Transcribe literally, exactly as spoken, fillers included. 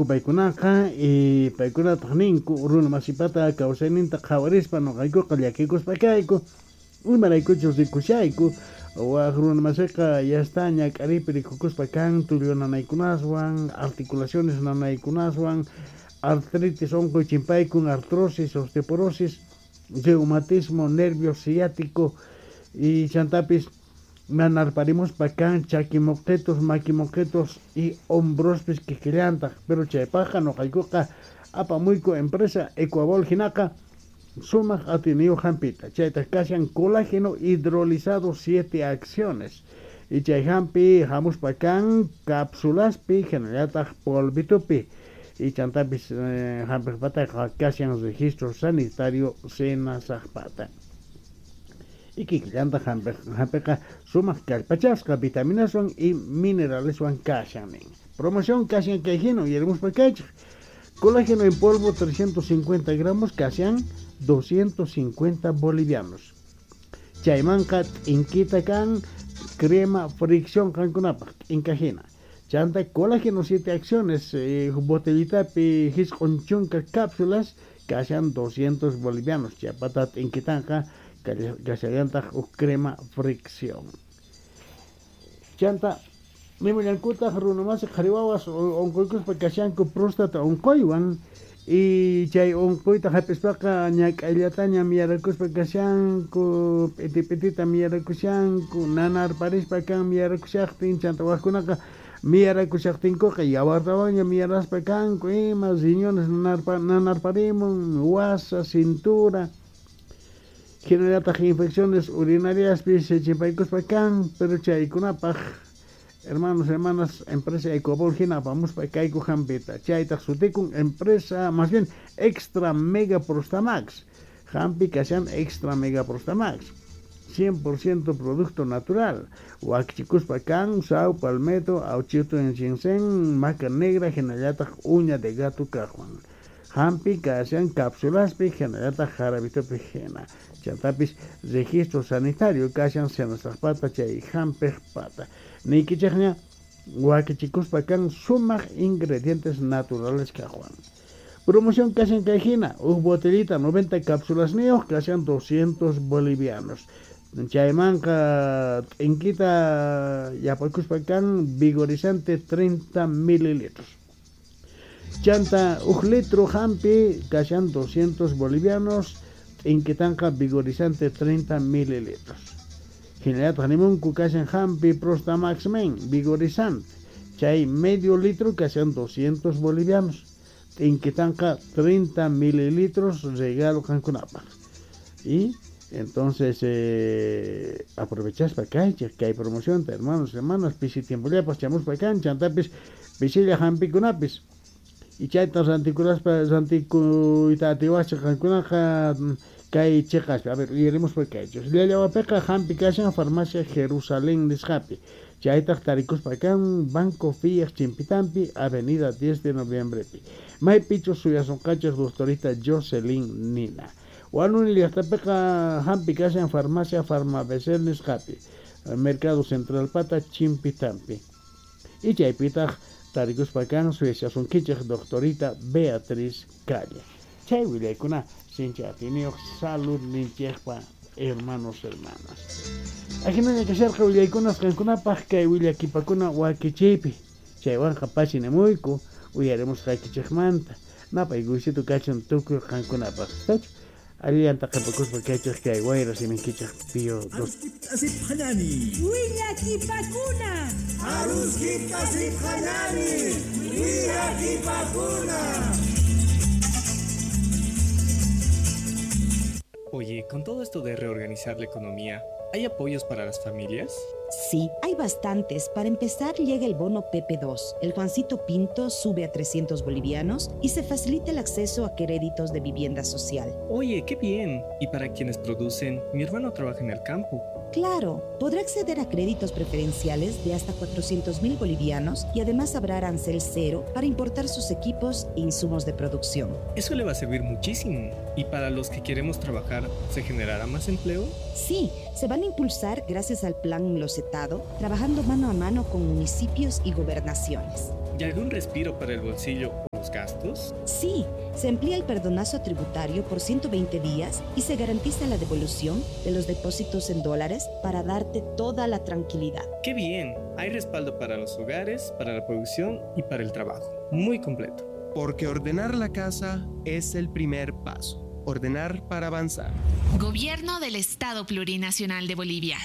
Paykunaqa y paykunataq ninku runa masipata kawsayninta qhawarispa nuqaykuqa llakikuspa kayku imaraykuchus rikushayku waq runa masiqa ya está ñak'aripi rikukuspa kan tullu nanaykunaswan articulaciones nanaykunaswan artritis unquy chimpaykun artrosis osteoporosis reumatismo nervio ciático y chantapis nanarparimuspa kan chakimoqetos makimoqetos y hombrospis kikillantaq pero chaypaqqa nuqaykuqa apamuyku empresa Ecuabol hinaqa sumaq atiniyuq hampita chaytaq kashan colágeno hidrolizado siete acciones y chay hampi hamuspa kan cápsulaspi hinallataq polvitupi y chantapis eh, hampiqpataqa kashan registro sanitario senasaqpata y kikillantaq hampiqa sumaq kallpachasqa vitaminaswan y mineraleswan kashan nin promoción kashan kay hina uyarimuspa kaychik colágeno en polvo trescientos cincuenta gramos kashan doscientos cincuenta bolivianos chaymanqa t'inkita kan crema fricción qankunapaq t'inkajina chanta colágeno siete acciones eh, botellitapi hisq'un chunka cápsulas kashan doscientos bolivianos chaypata t'inkitanqa kashallantaq huk crema fricción chanta nimullankutaq runa masi qhari wawas unquykuspa kashanku próstata unquywan y chay unquyta hap'ispaqa ñak'ayllataña miyarakuspa kashanku p'iti p'itita miyarakushanku nanarparispa kan miyarakushaqtin chanta waqkunaqa miyarakushaqtinkuqa yawartawanña miyaraspa kanku ima riñones nanarpa nanarparimun wasa cintura hinallataq infecciones urinariaspis chimpaykuspa kan pero chaykunapaq hermanos, hermanas, empresa Ecuabol hina apamuspa kayku hampita chaytaq sutikun empresa más bien Extra Mega Prostamax hampi kashan Extra Mega Prostamax cien por ciento producto natural wakichikuspa kan saw palmeto auchito en ginseng maca negra hinallataq uña de gato kaqwan hampi kashan cápsulaspi hinallataq jarabitopi hina chantapis registro sanitario kashan senasaqpata chay hampiqpata niykichikña wakichikuspa kan sumaq ingredientes naturales kaqwan promoción kashan kay hina huk botellita noventa cápsulasniyuq kashan doscientos bolivianos chaymanqa t'inkita yapakuspa kan vigorizante treinta mililitros chanta huk litro hampi kashan doscientos bolivianos t'inkitanqa vigorizante treinta mililitros hinallataq nimunku kashan hampi Prostamax Men vigorizante chay medio litro kashan doscientos bolivianos t'inkitanqa treinta mililitros regalo qankunapaq y entonces eh, aprovechaspa kaychik kay promocionta hermanos hermanas pisi tiempollapas chamuspa kan chantapis pisilla hampikunapis y chayta rantikuraspa rantikuyta atiwaschik qankunaqa kay chiqaspi a ver uyarimuspa kaychik Llallawapiqa hampi kashan farmacia Jerusalén nisqapi chaytaq tarikuspa kan Banco Fiat chimpitampi avenida diez de noviembrepi maypichus suyasunqachik doctorita Jocelyn Nina Huanuni llaqtapiqa hampi kashan farmacia Farmabecel nisqapi Mercado Central pata chimpitampi y chaypitaq tarikuspa kan suyashasunkichik doctorita Beatriz Calle chay willaykuna sinchi atiniyuq salud ninchikpa hermanos hermanas ajinaña kasharqa willaykunas qankunapaq kay willakipakuna wakichiypi chaywanqa pachinamuyku uyarimusqaykichikmanta napaykuysito kachun tukuy qankunapaq tachu allillanta qhipakuspa kaychik kay wayra siminkichik pío dos Willakipakuna Aruskiptasiphanani Willakipakuna. Oye, con todo esto de reorganizar la economía, ¿hay apoyos para las familias? Sí, hay bastantes. Para empezar, llega el bono P P dos. El Juancito Pinto sube a trescientos bolivianos y se facilita el acceso a créditos de vivienda social. Oye, qué bien. ¿Y para quienes producen? Mi hermano trabaja en el campo. Claro, podrá acceder a créditos preferenciales de hasta cuatrocientos mil bolivianos y además habrá arancel cero para importar sus equipos e insumos de producción. Eso le va a servir muchísimo. ¿Y para los que queremos trabajar, se generará más empleo? Sí, se van a impulsar gracias al plan Losetado, trabajando mano a mano con municipios y gobernaciones. ¿Y algún respiro para el bolsillo los gastos? Sí, se amplía el perdonazo tributario por ciento veinte días y se garantiza la devolución de los depósitos en dólares para darte toda la tranquilidad. ¡Qué bien! Hay respaldo para los hogares, para la producción y para el trabajo. Muy completo. Porque ordenar la casa es el primer paso. Ordenar para avanzar. Gobierno del Estado Plurinacional de Bolivia.